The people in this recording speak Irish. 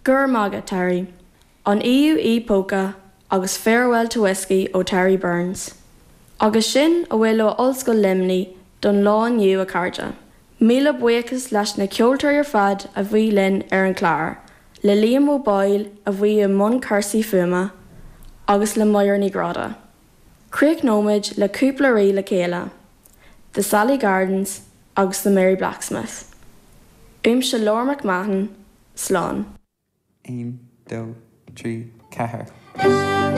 Go raibh maith agat, Terry. An EUE Polka agus Farewell to Whiskey ó Terry Burns. Agus sin a bhfuil ó Ollscoil Luimnigh don lá inniu, a chairde. Míle buíochas leis na ceoltóirí ar fad a bhí linn ar an chlár, le Liam Ó Baoill a bhí i mbun cúrsaí fuaime, agus le Máire Ní Ghráda. Críochnóimid le cúpla rí le chéile, The Sally Gardens agus The Merry Blacksmith. Uaimse Laura McMahon, slán. 1, 2, 3, 4.